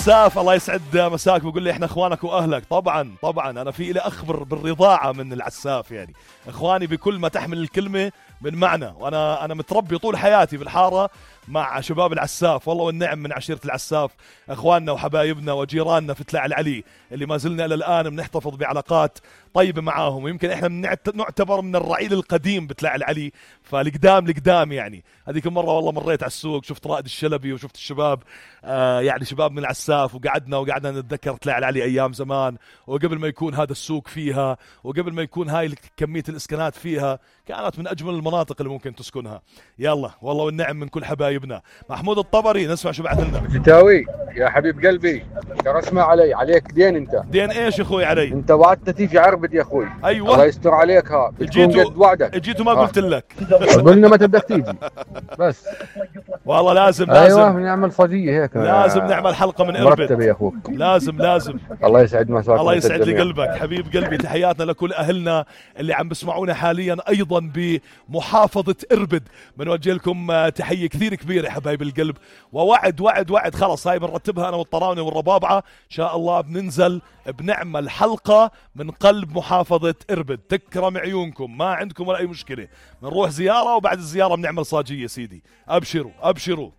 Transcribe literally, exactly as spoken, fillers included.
ساف الله يسعد مساك، بقول لي احنا اخوانك واهلك. طبعا طبعا انا في الي اخبر بالرضاعه من العساف، يعني اخواني بكل ما تحمل الكلمه من معنى، وانا انا متربي طول حياتي بالحاره مع شباب العساف، والله والنعم من عشيره العساف، اخواننا وحبايبنا وجيراننا في تلال العلي اللي ما زلنا الى الان بنحتفظ بعلاقات طيبه معاهم، ويمكن احنا نعتبر من الرعيل القديم بتلال العلي، فالقدام القدام يعني. هذيك المره والله مريت على السوق شفت رائد الشلبي وشفت الشباب آه يعني شباب من العساف، وقعدنا وقعدنا نتذكر تلال العلي ايام زمان، وقبل ما يكون هذا السوق فيها وقبل ما يكون هاي كميه الاسكانات فيها، كانت من اجمل المناطق اللي ممكن تسكنها. يلا والله والنعم من كل حبايبنا. محمود الطبري نسمع شو بعث لنا. فتاوي يا حبيب قلبي، ترى اسمع علي، عليك دين انت. دين ايش يا اخوي علي؟ انت وعدت تيجي عربد يا اخوي. ايوه الله يستر عليك، ها بتكون قد وعدك. جيت وما قلت لك قلنا متى بدك تيجي بس. والله لازم لازم ايوه نعمل فضيه هيك، لازم نعمل حلقه من اربد مرتبه يا اخوك. لازم لازم الله يسعد مساك. الله يسعد لي قلبك حبيب قلبي. تحياتنا لكل اهلنا اللي عم بسمعونا حاليا ايضا بمحافظه اربد، بنوجه لكم تحيه كثير كبيره يا حبايب القلب. ووعد وعد وعد خلص هاي بنرتبها انا والطراونه والربابعه ان شاء الله، بننزل بنعمل حلقه من قلب محافظه اربد، تكرم عيونكم، ما عندكم ولا اي مشكله، بنروح زياره وبعد الزياره بنعمل صاجيه سيدي. ابشروا ابشروا.